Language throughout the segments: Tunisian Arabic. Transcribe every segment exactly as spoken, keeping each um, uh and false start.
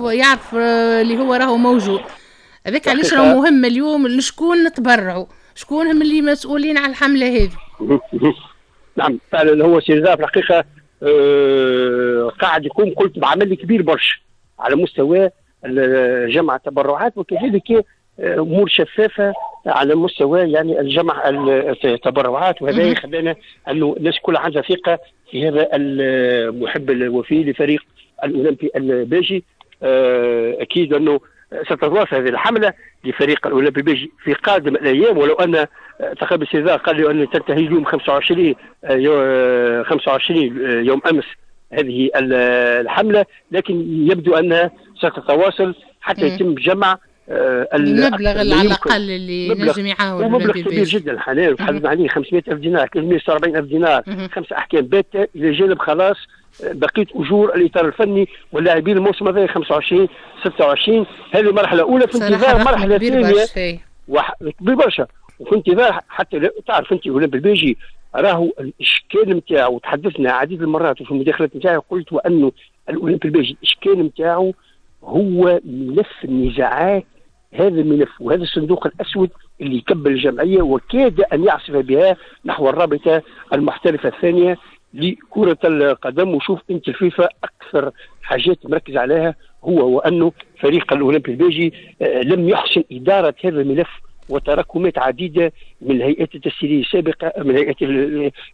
يعرف اللي هو راهو موجود. هذاك علاش راهو مهم اليوم لشكون نتبرعوا، شكون هم اللي مسؤولين على الحملة هذه. نعم فعلا هو سي رضا في الحقيقة آه قاعد يقوم قلت بعمل كبير برشا على مستوى جمع التبرعات، وكذلك امور شفافة على مستوى يعني الجمع التبرعات، وهذا خلانا انه الناس كلها عندها ثقة في هذا المحب الوفي لفريق الاولمبي الباجي. اكيد انه ستتواصل هذه الحملة لفريق الاولمبي الباجي في قادم الايام، ولو ان تقريبا سيزار قال لي ان تنتهي اليوم خمسة وعشرين خمسة وعشرين يوم امس هذه الحملة، لكن يبدو انها ستتواصل حتى يتم جمع المبلغ على الاقل اللي نجم يعاون. مبلغ كبير جدا حاليا تحدثنا عليه خمسمائة ألف دينار، ثلاثمائة وستة وأربعين ألف دينار، خمس احكام باته الى جانب خلاص بقية اجور الاطار الفني واللاعبين الموسم هذا خمسة وعشرين ستة وعشرين. هذه مرحلة اولى في انتظار مرحلة ثانية كبير برشا، وفي انتظار حتى تعرف انت اولمبي الباجي راهو الاشكال نتاعو، تحدثنا عديد المرات وفي المداخلات نتاعي قلت وانه الاولمبي الباجي الاشكال نتاعو هو ملف النزاعات، هذا الملف وهذا الصندوق الاسود اللي يكبل الجمعية وكاد ان يعصف بها نحو الرابطة المحترفه الثانية لكرة القدم. وشوف انت الفيفا اكثر حاجات مركز عليها هو وانه فريق الاولمبي الباجي لم يحسن ادارة هذا الملف وتراكمات عديدة من الهيئات التسييريه السابقة، من هيئات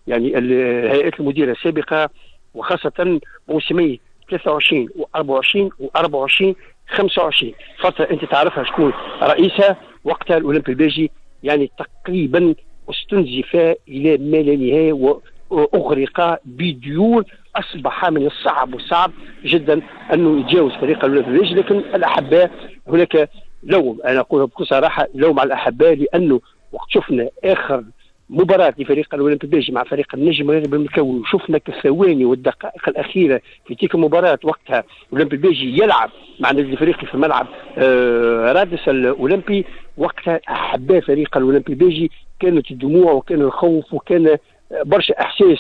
يعني الهيئات المديرة السابقة، وخاصة موسمي ثلاثة وعشرين وأربعة وعشرين وأربعة وعشرين خمسة وعشرين، فترة أنت تعرفها شكون رئيسها وقتها الأولمبي الباجي يعني تقريبا استنزف إلى ما لا نهاية وأغرق بديون، أصبح من الصعب والصعب جدا أنه يتجاوز فريق الأولمبي الباجي. لكن الأحباء هناك لوم، أنا أقولها بكل صراحة لوم على الأحباء، لأنه وقت شفنا آخر مباراة لفريق الأولمبي الباجي مع فريق النجم الرياضي بالمكون، وشفنا الثواني والدقائق الأخيرة في تلك المباراة وقتها الأولمبي الباجي يلعب مع النادي الإفريقي في ملعب آه رادس الأولمبي، وقتها أحباء فريق الأولمبي الباجي كانت الدموع وكان الخوف وكان برشا إحساس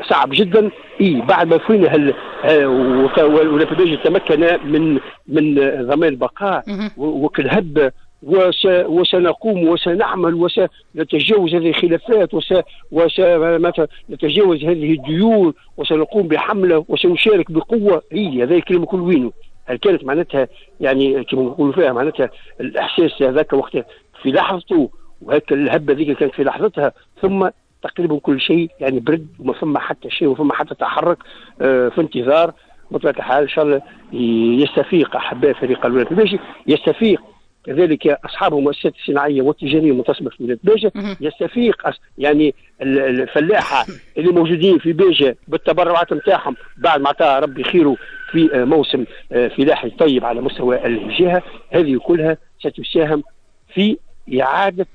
صعب جدا. إيه بعد ما فينا هل والأولمبي الباجي تمكن من من ضمان البقاء وكالهب وس وسنقوم وسنعمل وسنتجاوز هذه الخلافات وس وسنتجاوز هذه الديون وسنقوم بحمله وسنشارك بقوة. هي هذا الكلام كل وينه؟ هل كانت معناتها يعني كما نقولوا فيها معناتها الاحساس هذاك وقت في لحظته وهيك الهبة ذيك كانت في لحظتها، ثم تقريبا كل شيء يعني برد وما فما حتى شيء وما فما حتى تحرك. آه في انتظار بطبيعة الحال ان شاء الله يستفيق احباء فريق الأولمبي الباجي، يستفيق كذلك اصحاب المؤسسات الصناعية والتجاريه المنتصبه في ولاية باجه، يستفيق يعني الفلاحة اللي موجودين في باجه بالتبرعات نتاعهم بعد ما عطاها ربي خيره في موسم فلاحي طيب على مستوى الجهة. هذه كلها ستساهم في اعاده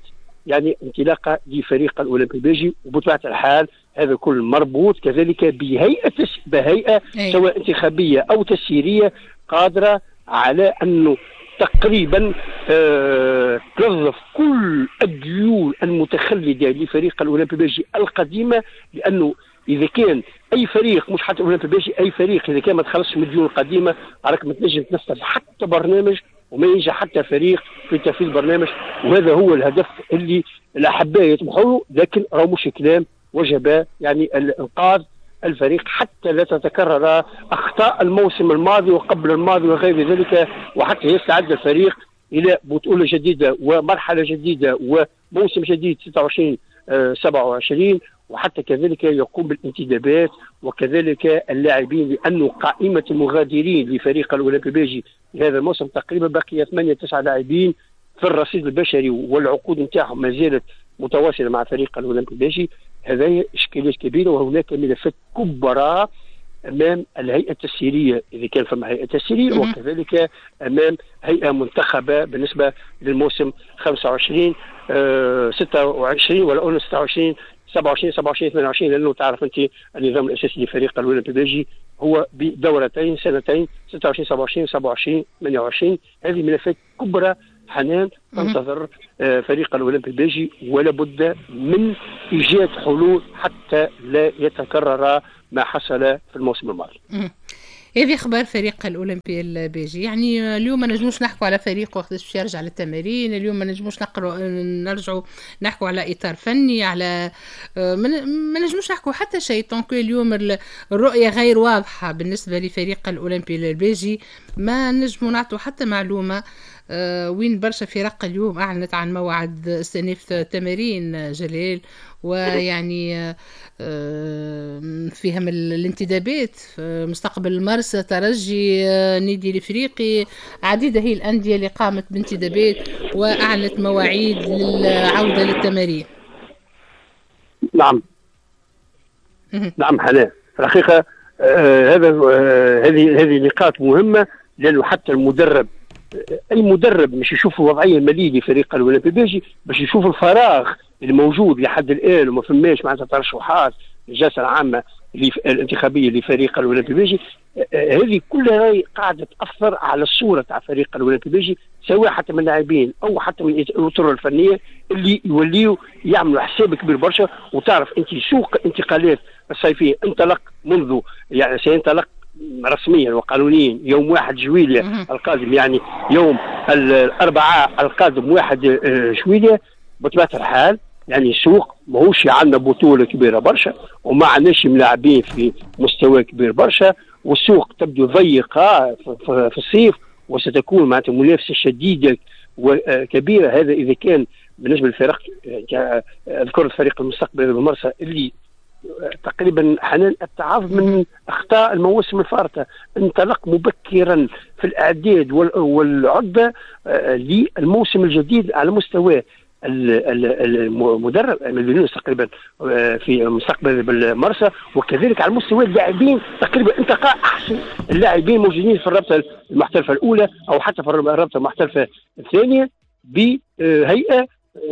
يعني انطلاقة لفريق الاولمبي الباجي، وبطبيعة الحال هذا كل مربوط كذلك بهيئة بهيئة سواء انتخابية او تسييريه قادرة على انه تقريبا آه تنظف كل الديون المتخلده لفريق الاولمبي الباجي القديمة، لانه اذا كان اي فريق مش حتى الاولمبي الباجي اي فريق اذا كان ما تخلصش من الديون القديمة راك ما تنجم تنفذ حتى برنامج وما ينجح حتى فريق في تنفيذ برنامج، وهذا هو الهدف اللي الاحباء يطمحوا له. لكن راهو مش كلام، وجب يعني الانقاذ الفريق حتى لا تتكرر اخطاء الموسم الماضي وقبل الماضي وغير ذلك، وحتى يستعد الفريق الى بطوله جديدة ومرحلة جديدة وموسم جديد ستة وعشرين سبعة وعشرين، وحتى كذلك يقوم بالانتدابات وكذلك اللاعبين، لانه قائمة المغادرين لفريق الاولمبي الباجي هذا الموسم تقريبا بقي ثمانية تسعة لاعبين في الرصيد البشري والعقود نتاعهم ما زالت متواصلة مع فريق الاولمبي الباجي. هذه اشكاليات كبيرة وهناك ملفات كبرى امام الهيئة التسييريه اذا كان فما هيئة تسييريه، وكذلك امام هيئة منتخبه بالنسبة للموسم خمسة وعشرين آه ستة وعشرين ولا قلنا ستة وعشرين سبعة وعشرين سبعة وعشرين ثمانية وعشرين، لانه تعرف انت النظام الاساسي لفريق الاولمبي الباجي هو بدورتين سنتين ستة وعشرين سبعة وعشرين سبعة وعشرين ثمانية وعشرين. هذه ملفات كبرى حنان تنتظر فريق الاولمبي الباجي، ولا بد من ايجاد حلول حتى لا يتكرر ما حصل في الموسم الماضي. هذه اخبار فريق الاولمبي الباجي. يعني اليوم ما نجموش نحكوا على فريق وقت باش يرجع للتمارين، اليوم ما نجموش نقروا نرجعوا نحكوا على اطار فني، على ما نجموش نحكوا حتى شيء tant que اليوم الرؤية غير واضحة بالنسبة لفريق الاولمبي الباجي، ما نجموا نعطوا حتى معلومة. آه، وين برشا فرق اليوم اعلنت عن موعد استئناف تمارين جلال، ويعني آه، فيهم الانتدابات، مستقبل المرسى، ترجي، آه، نادي الافريقي، عديدة هي الاندية اللي قامت بانتدابات واعلنت مواعيد للعودة للتمارين. نعم نعم حنان، في الحقيقة آه هذا هذه هذه نقاط مهمة، لانه حتى المدرب، اي مدرب مش يشوف الوضعية المالية لفريق الاولمبي الباجي، باش يشوف الفراغ الموجود لحد الان وما فماش معناتها ترشحات للجلسه العامة الانتخابية لفريق الاولمبي الباجي. هذه كلها قاعدة تاثر على الصورة تاع فريق الاولمبي الباجي، سواء حتى من اللاعبين او حتى من الاطر الفنية اللي يوليوا يعملوا حساب كبير برشا. وتعرف انت سوق الانتقالات الصيفية انطلق منذ، يعني سينطلق رسميا وقانونيا يوم واحد جويلية القادم، يعني يوم الأربعاء القادم واحد جويلية. بطبيعة الحال يعني السوق ماهوش عندنا بطولة كبيرة برشا وما عندناش ملاعبين في مستوى كبير برشا، والسوق تبدو ضيقة في الصيف، وستكون معناتها منافسة شديدة وكبيرة. هذا إذا كان بالنسبة للفرق، أذكر الفريق المستقبل بالمرسى اللي تقريبا حنان التعاظ من اخطاء المواسم الفارطه، انطلق مبكرا في الاعداد والعدة للموسم الجديد على مستوى المدرب مدينوس تقريبا في مستقبل بالمرسى، وكذلك على مستوى اللاعبين تقريبا انتقى احسن اللاعبين موجودين في الرابطة المحترفه الاولى او حتى في الرابطة المحترفه الثانية بهيئة.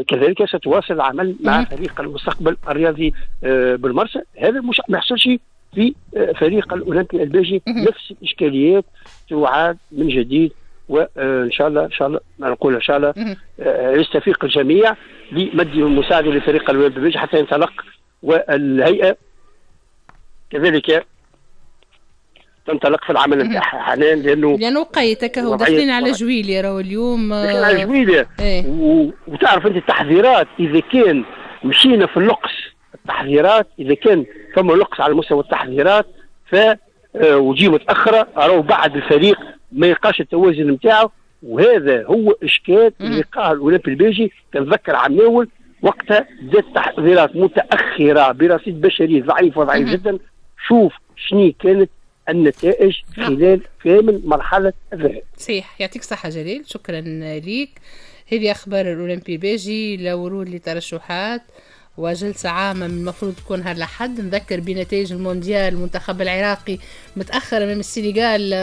كذلك ستواصل العمل مع فريق المستقبل الرياضي بالمرسى. هذا مش ما يحصلش في فريق الاولمبي الباجي، نفس الاشكاليات تعاد من جديد، وان شاء الله ان شاء الله ما نقول ان شاء الله يستفيق الجميع لمد المساعدة لفريق الاولمبي الباجي حتى ينطلق، والهيئة كذلك تنطلق في العمل نتاعها حاليا، لانه لانه قيتك هو داخلين على جويلية راهو اليوم، داخلين على جويلية. ايه. و... وتعرف انت التحذيرات اذا كان مشينا في النقص، التحذيرات اذا كان فما نقص على مستوى التحذيرات ف وجي متاخرة راهو بعد الفريق ما يلقاش التوازن نتاعو، وهذا هو اشكال اللي لقاه الاولمبي الباجي. كنتذكر عام الاول وقتها بدات التحذيرات متاخرة برصيد بشري ضعيف وضعيف جدا. شوف شنو كانت النتائج خلال كامل مرحلة الذهاب. صحيح، يعطيك الصحة جليل، شكرا ليك. هذه أخبار الأولمبي الباجي، لا ورود لترشحات وجلسة عامة من المفروض تكون نهار الأحد. نذكر بنتائج المونديال، المنتخب العراقي متأخر أمام السنغال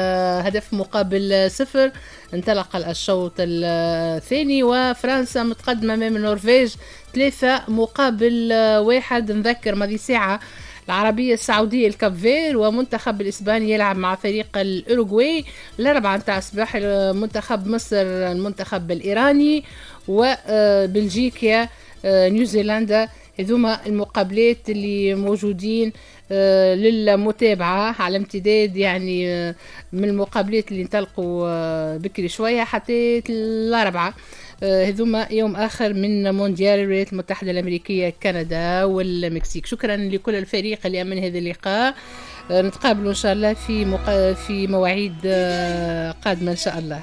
هدف مقابل صفر، انطلق الشوط الثاني، وفرنسا متقدمة أمام النرويج ثلاثة مقابل واحد. نذكر ماضي ساعة العربية السعودية الكاب فير، ومنتخب الإسباني يلعب مع فريق الأوروغواي. الأربعة نتاع الصباح منتخب مصر المنتخب الإيراني، وبلجيكا نيوزيلندا. هذوما المقابلات اللي موجودين للمتابعة على امتداد يعني من المقابلات اللي انطلقوا بكري شوية حتى الأربعة. هذوما يوم آخر من مونديال الولايات المتحدة الأمريكية، كندا والمكسيك. شكرا لكل الفريق اللي أمن هذا اللقاء، نتقابلوا إن شاء الله في مقا... في مواعيد قادمة إن شاء الله.